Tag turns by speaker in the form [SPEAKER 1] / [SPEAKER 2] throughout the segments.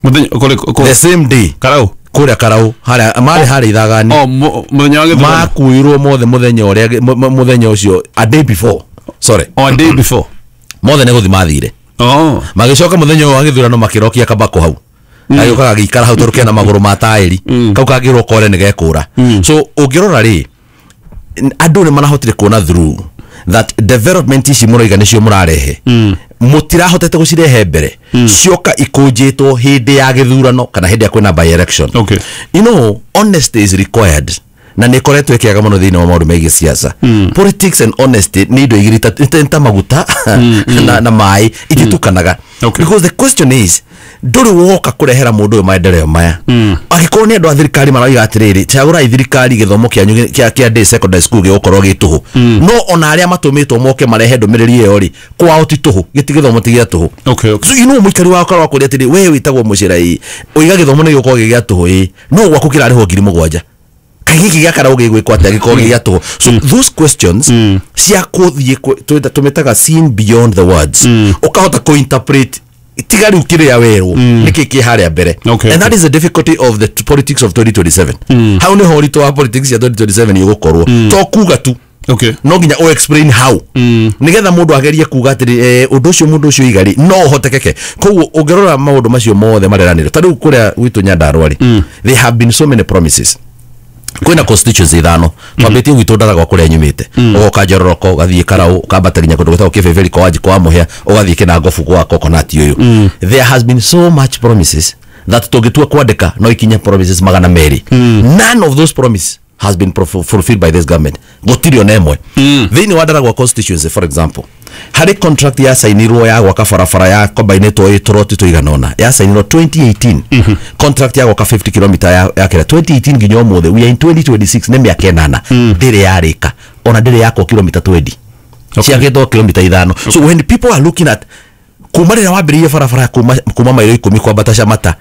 [SPEAKER 1] Muthenya kuri
[SPEAKER 2] The same day.
[SPEAKER 1] Karau.
[SPEAKER 2] Kuria Karau haria marĩ harĩa ithagani.
[SPEAKER 1] Oh, muthenya wa gĩthurano.
[SPEAKER 2] Makuirwo mothe muthenya ũrĩa muthenya ũcio, a day before, sorry.
[SPEAKER 1] Oh, a day before.
[SPEAKER 2] Mothe nĩ gũthi mathire.
[SPEAKER 1] Oh.
[SPEAKER 2] Magĩcoka mũthenya ũyũ wa gĩthurano makĩrokia kabako hau, gagĩũka gagĩikara hau tondũ kena magũrũ ma taĩri, kau kangĩrwo kore nĩ gekũra. So ũngĩrora rĩ, andũ nĩ marahotire kuona through that development ici mũroiga nĩcio mũrarehe, mũtirahotete gũcirehe mbere, cioka ikũnjĩtwo hĩndĩ ya gĩthurano kana hĩndĩ ya kwĩna by election. Honesty is required na nä ĩkoretwo ĩkĩaga mũno thĩinĩ wa maũndũ megiĩ siasa. Politics and honesty nĩ indo igĩrĩ ta maguta na maĩ, ititukanaga. Because the question is, ndũrĩ woka kũrehera mũndũ ũyũ maendeleo maya, angĩkorwo nĩ andũ a thirikari marauga atĩrĩrĩ, cagũrai thirikari, gĩthomo kĩanyu kĩa day secondary school gĩgũkorwo gĩ tũhũ, no ona arĩa matũmĩtwo moke marehe ndũmĩrĩri ĩyo rĩ, kwao ti tũhũ, gĩti gĩthomo ti gĩa tũhũ.
[SPEAKER 1] Okay.
[SPEAKER 2] So mũikari wa korwa kũrĩa atĩrĩ, we wĩtagwo mũcĩra ĩ, ũiga gĩthomo nĩ gĩgũkorwo gĩ gĩa tũhũ ĩ, no gwaku kĩrarĩhwo 7,000, kaĩ gĩkĩ gĩa Karau gĩgwĩkwo atĩa gĩkorwo gĩ gĩa tũhũ? So those questions cia kũthiĩ tũmĩtaga seen beyond the words, ũkahota kũ-interpret tiga rĩu kĩrĩa werwo nĩkĩ kĩ harĩa mbere. And that is the difficulty of the politics of 2027. Hau nĩho ũritũ wa politics ya 2027 ũgũkorwo, to kuga tu, no nginya o explain how, nigetha mũndũ agerie kuga atĩrĩ, ũndũ ũcio mũndũ ũcio iga rĩ, no ũhotekeke. Koguo ũngĩrora maũndũ macio mothe mareranĩrwo, ta rĩu kũrĩa gwitũ Nyandarua rĩ, there have been so many promises. Kwĩna constituency ithano twambĩtie gwitũ Ndaragwa kũrĩa nyumĩte, ũgoka Njororoko, ũgathiĩ Karau, ũkambata nginya kũndũ gwĩtagwo Kĩbĩbĩri kwa Wanjikũ wa Mũhĩa, ũgathiĩ Kĩnangobu gwa Coconut ũyũ. There has been so much promises that tũngĩtua kwandĩka no ikinye promises 200. None of those promises has been fulfilled by this government, gũtirĩ ona ĩmwe. Thĩinĩ wa Ndaragwa constituency, for example, harĩ contract yacainirwo ya gwaka barabara ya kombainĩtwo ĩ tũroti tũigana ũna, yacainirwo 2018, contract ya gwaka 50 km ya kĩrĩa 2018 nginya ũmũthĩ, we are in 2026, nĩ mĩaka 8, ndĩrĩ yarĩka, ona ndĩrĩ yakwo kilomita 20. Ciakĩtwo kilomita 5. So when people are looking at kuma rĩrĩa wambĩrĩirie barabara kuma mairo 10 kwambata Camata,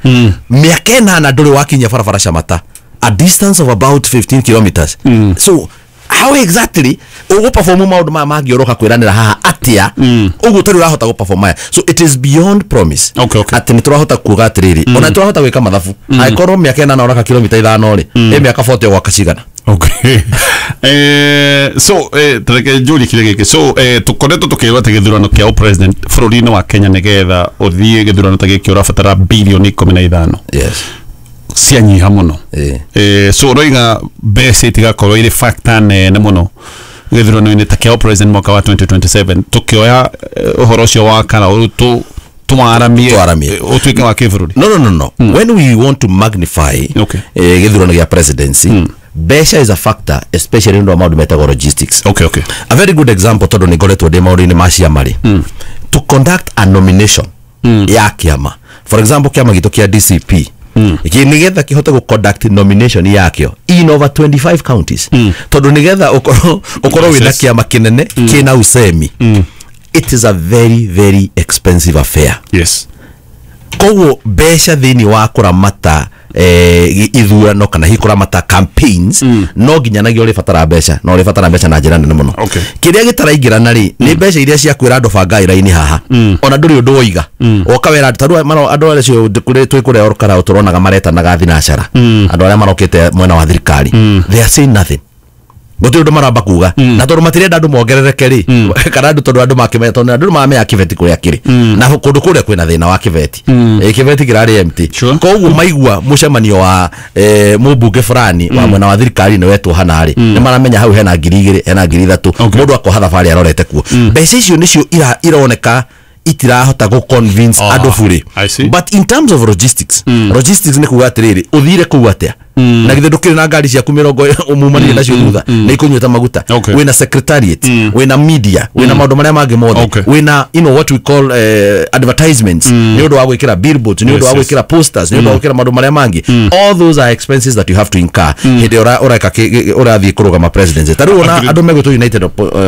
[SPEAKER 2] mĩaka 8 ndũrĩ wakinyia barabara Camata, a distance of about 15 kilometers. So how exactly ũgũperform maũndũ maya mangĩ ũroka kwĩranĩra haha atĩa ũguo ũtarĩ ũrahota gũperform maya? So it is beyond promise. Atĩ nĩ tũrahota kuga atĩrĩrĩ, ona tũrahota gwĩka mathabu, angĩkorwo mĩaka 8 ũraka kilomita 5 rĩ, ĩ mĩaka 40 ũgwaka cigana?
[SPEAKER 1] Okay. So tareke njũrie kĩrĩa gĩkĩ. So tũkoretwo tũkĩrwo atĩ gĩthurano kĩa president bũrũri-inĩ wa Kenya, nĩgetha ũthiĩ gĩthurano ta gĩkĩ ũrabatara bilioni 15.
[SPEAKER 2] Yes.
[SPEAKER 1] Cianyiha mũno. So ũroiga mbeca itigakorwo irĩ factor nene mũno gĩthurano-inĩ ta kĩa president mwaka wa 2027, tũkĩoya ũhoro ũcio wa Karau twaramie
[SPEAKER 2] Twaramie.
[SPEAKER 1] ũtuĩke wa kĩbũrũri?
[SPEAKER 2] No. When we want to magnify gĩthurano gĩa presidency, mbeca is a factor, especially nĩ ũndũ wa maũndũ metagwo logistics.
[SPEAKER 1] Okay.
[SPEAKER 2] A very good example, tondũ nĩ ngoretwo ndĩ maũndũ-inĩ ma ciama rĩ, to conduct a nomination ya kĩama, for example kĩama gitũ kĩa DCP, nĩgetha kĩhote gũ conduct nomination yakĩo in over 25 counties, tondũ nĩgetha ũkorwo wĩna kĩama kĩnene kĩna usemi, it is a very very expensive affair.
[SPEAKER 1] Yes.
[SPEAKER 2] Koguo mbeca thĩinĩ wa kũramata ithurano kana hihi kũramata campaigns, no nginyanagia ũrĩbatara mbeca, na ũrĩbatara mbeca na njĩra nene mũno. Kĩrĩa gĩtaraingĩrana rĩ, nĩ mbeca iria cia kwĩra andũ bangai raini haha, ona ndũrĩ ũndũ woiga, woka wera ta rĩu andũ arĩa acio twĩ kũrĩa Olkalau tũronaga maretanaga thinacara, andũ arĩa marokĩte mwena wa thirikari, they are saying nothing, gũtirĩ ũndũ maramba kuga, na tondũ matirenda andũ mongerereke rĩ, kana andũ tondũ andũ makĩmenya, tondũ andũ mamenya kĩbeti kũrĩa kĩrĩ, na kũndũ kũrĩa kwĩna thĩna wa kĩbeti, kĩbeti kĩrarĩ empty. Koguo maigua mũcemanio wa mũmbunge fulani wa mwena wa thirikari nĩ wetwo hana rĩ, nĩ maramenya hau hena 2,000, hena 3,000, mũndũ akoha thabarĩ arorete kuo. Mbeca icio nĩcio ironeka itirahota gũ convince andũ burĩ.
[SPEAKER 1] I see.
[SPEAKER 2] But in terms of logistics, logistics nĩ kuga atĩrĩrĩ, ũthire kũu atĩa na githĩ ndũkĩrĩ na ngari ciaku mĩrongo umumanire nacio thutha nĩ ikũnyuĩte maguta? Wĩna secretariat, wĩna media, wĩna maũndũ marĩa mangĩ mothe, wĩna what we call advertisements, nĩ ũndũ wa gwĩkĩra billboards, nĩ ũndũ wa gwĩkĩra posters, nĩ ũndũ wa gwĩkĩra maũndũ marĩa mangĩ. All those are expenses that you have to incur hĩndĩ ĩrĩa ũreka ũrathiĩ kũrũgama presidency. Ta rĩu ona andũ megwĩtwo United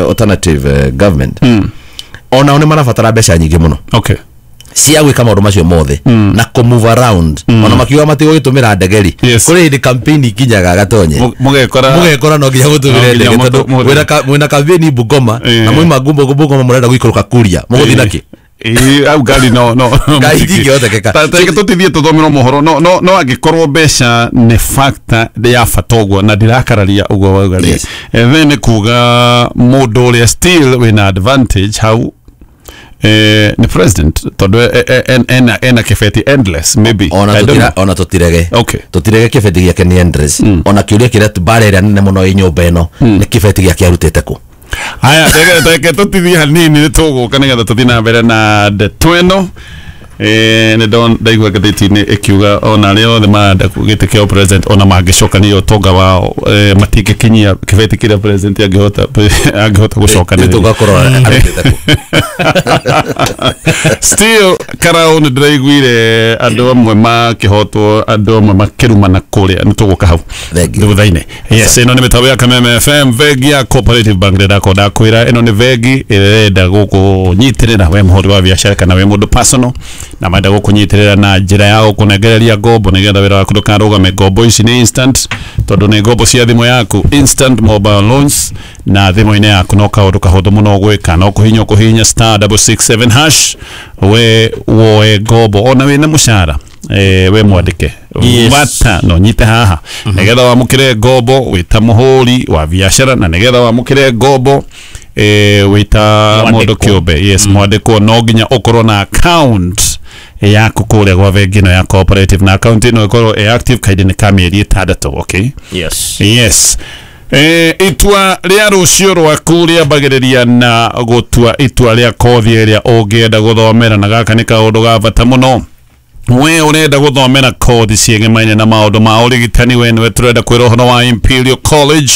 [SPEAKER 2] Alternative Government, onao nĩ marabatara mbeca nyingĩ mũno cia gwĩka maũndũ macio mothe na kũ move around, ona makiuga matigũgĩtũmĩra ndege rĩ, kũrĩ hĩndĩ campaign ikinyaga gatonye
[SPEAKER 1] Mũgekora
[SPEAKER 2] mũgekora no nginya mũtũmĩre
[SPEAKER 1] No nginya
[SPEAKER 2] ndege, tondũ
[SPEAKER 1] mũtũmĩre.
[SPEAKER 2] mwĩna campaign Bungoma, na mwauma Bungoma mũrenda gũikũrũka Kuria, mũgũthiĩ nakĩ?
[SPEAKER 1] Ĩĩ, au ngari no no
[SPEAKER 2] Ngari itingĩhotekeka.
[SPEAKER 1] Reke tũtithie tũthomerwo mohoro, no angĩkorwo mbeca nĩ factor ya bata ũguo na ndirakararia ũguo wauga rĩ,
[SPEAKER 2] Yes.
[SPEAKER 1] then nĩ kuga mũndũ ũrĩa still wĩna advantage hau nĩ president, tondũ ena kĩbeti endless maybe.
[SPEAKER 2] Ona
[SPEAKER 1] I don't
[SPEAKER 2] tutira
[SPEAKER 1] know.
[SPEAKER 2] Ona tutirege.
[SPEAKER 1] Okay.
[SPEAKER 2] Tutirege kĩbeti gĩake nĩ endless. Ona kĩũria kĩrĩa mbara ĩrĩa nene mũno ĩ nyũmba ĩno nĩ kĩbeti gĩake arutĩte kũ.
[SPEAKER 1] Haya, reke tũtithie hanini, nĩ tũgũka nĩgetha tũthiĩ na mbere na ndeto ĩno. Nĩ ndaigua ngathĩti-inĩ ĩkiuga ona arĩa othe marenda gĩtĩ kĩa president, ona mangĩcokania ũtonga wao, matingĩkinyia kĩbeti kĩrĩa president angĩhota gũcokanĩrĩria.
[SPEAKER 2] Tũgakorwo arutĩte kũ.
[SPEAKER 1] Still Karau, nĩ ndĩraiguire andũ amwe makĩhotwo, andũ amwe makĩrumana kũrĩa. Nĩ tũgũka hau
[SPEAKER 2] Thank you.
[SPEAKER 1] thutha-inĩ. Yes, ĩno nĩ mĩtambo ya Kameme FM, bengi ya Cooperative Bank. Ndĩrakorwo ndakwĩra ĩno nĩ bengi ĩrenda gũkũnyitĩrĩra we mũhũri wa biacara kana we mũndũ personal, na marenda gũkũnyitĩrĩra na njĩra ya gũkũnengereria ngombo nĩgetha wĩra waku ndũkarũgame. Ngombo ici nĩ instant, tondũ nĩ ngombo cia thimũ yaku, instant mobile loans, na thimũ-inĩ yaku no kaũndũ kahũthũ mũno gwĩka, no kũhihinya *667# we woe ngombo ona wĩna mũcara, we mwandĩke.
[SPEAKER 3] Yes.
[SPEAKER 1] Bata no nyite haha nĩgetha wamũkĩre ngombo wĩta mũhũri wa biacara, na nĩgetha wamũkĩre ngombo wĩta mũndũ
[SPEAKER 3] Mwandĩkwo.
[SPEAKER 1] kĩũmbe, yes, mwandĩkwo, no nginya ũkorwo na account yaku kũrĩa gwa bengi ĩno ya Cooperative, na account ĩno ĩkorwo ĩ active kahinda-inĩ ka mĩeri 6, okay?
[SPEAKER 3] Yes.
[SPEAKER 1] Yes. Itua rĩa rũciũ rwaku rĩambagĩrĩria na gũtua itua rĩa kothi ĩrĩa ũngĩenda gũthomera, na gaka nĩ kaũndũ ga bata mũno. We ũrenda gũthomera kothi ciĩgemaine na maũndũ ma ũrigitani, we nĩwe tũrenda kwĩra ũhoro wa Imperial College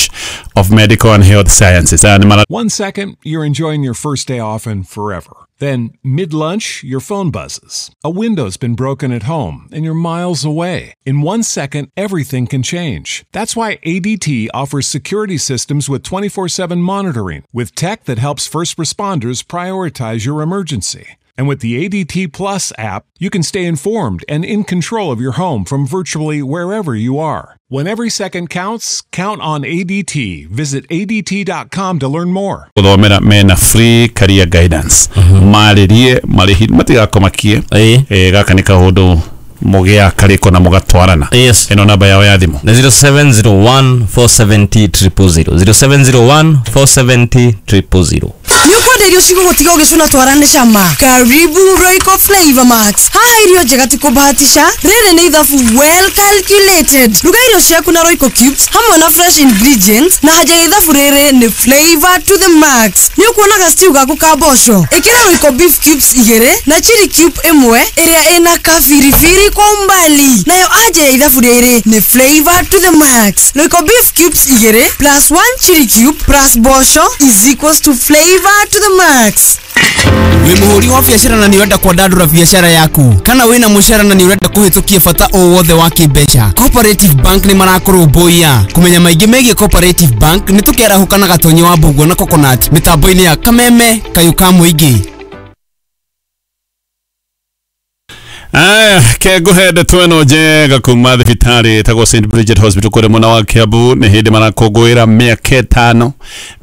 [SPEAKER 1] of Medical and Health Sciences. Aya nĩ mara
[SPEAKER 4] One second, you're enjoying your first day off and forever. Then, mid lunch, your phone buzzes. A window's been broken at home and you're miles away. In 1 second, everything can change. That's why ADT offers security systems with 24/7 monitoring, with tech that helps first responders prioritize your emergency. And with the ADT Plus app, you can stay informed and in control of your home from virtually wherever you are. When every second counts, count on ADT. Visit ADT.com to learn more.
[SPEAKER 1] Gũthomera mena free career guidance, marĩrie marĩhi matigakomakie. Gaka nĩ kaũndũ mũgĩa karĩko na mũgatwarana. Ĩno namba yao ya thimũ
[SPEAKER 3] Nĩ 0701 470 000, 0701 470 000.
[SPEAKER 5] Nĩ ũkwenda irio cigũgũtiga ũgĩcũna twara nĩ cama? Karibu Royco Flavor Max. Haha irio njega ti kũbahatisha, rĩrĩ nĩ ithabu well calculated. Ruga irio ciaku na Royco cubes hamwe na fresh ingredients, na haja ya ithabu rĩrĩ nĩ flavor to the max. Nĩ ũkuonaga stew gaku ka mboco, ĩkĩra Royco beef cubes igĩrĩ na chili cube ĩmwe ĩrĩa ĩna kabiribiri kwa umbali, nayo anja ya ithabu rĩrĩ nĩ flavor to the max. Royco beef cubes igĩrĩ plus one chili cube plus mboco is equals to flavor to the max.
[SPEAKER 6] Wĩ mũhũri wa biacara na nĩ ũrenda kwandandũra biacara yaku, kana wĩna mũcara na nĩ ũrenda kũhĩtũkia bata o wothe wa kĩmbeca, Cooperative Bank nĩ marakũrũmbũiya. Kũmenya maingĩ megiĩ Cooperative Bank, nĩ tũkĩarahũka na Gatonyi wa Mbũguo na Coconut mĩtambo-inĩ ya Kameme Kayũ ka Mũingĩ.
[SPEAKER 1] Aya, ke ngũhe ndeto ĩno njega kuma thibitarĩ ĩtagwo St Bridget Hospital kũrĩa mwena wa Kiambu. Nĩ hĩndĩ marakũngũĩra mĩaka 5,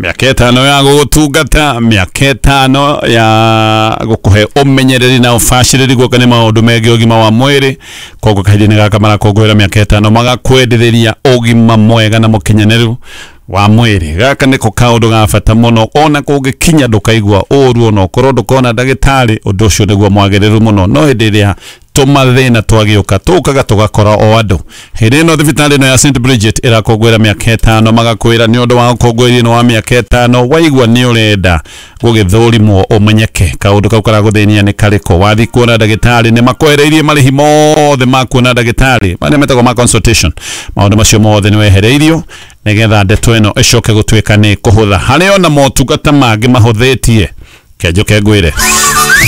[SPEAKER 1] mĩaka 5 ya gũgũtungata, mĩaka 5 ya gũkũhe ũmenyereri na ũbacĩrĩri guoka nĩ maũndũ megiĩ ũgima wa mwĩrĩ. Koguo kahinda-inĩ gaka marakũngũĩra mĩaka 5, magakwendereria ũgima mwega na mũkinyanĩru wa mwĩrĩ. Gaka nĩko kaũndũ ga bata mũno, ona kũngĩkinya ndũkaigua ũru, ona ũkorwo ndũkona ndagĩtarĩ, ũndũ ũcio nĩguo mwagĩrĩru mũno. No hĩndĩ ĩrĩa tũmathĩna twagĩũka, tũkaga tũgakora o andũ. Hĩndĩ ĩno thibitarĩ ĩno ya St Bridget ĩrakũngũĩra mĩaka 5, magakwĩra nĩ ũndũ wa ũkũngũĩri ĩno wa mĩaka 5, waigua nĩ ũrenda gũgĩthũrimwo ũmenyeke kaũndũ kau karagũthĩnia nĩ karĩkũ, wathiĩ kuona ndagĩtarĩ nĩ makwehereirie marĩhi mothe ma kuona ndagĩtarĩ marĩa metagwo ma consultation. Maũndũ macio mothe nĩ wehereirio nĩgetha ndeto ĩno ĩcoke gũtuĩka nĩ kũhũtha. Harĩ ona motungata mangĩ mahũthĩtie, kenjoke ngwĩre.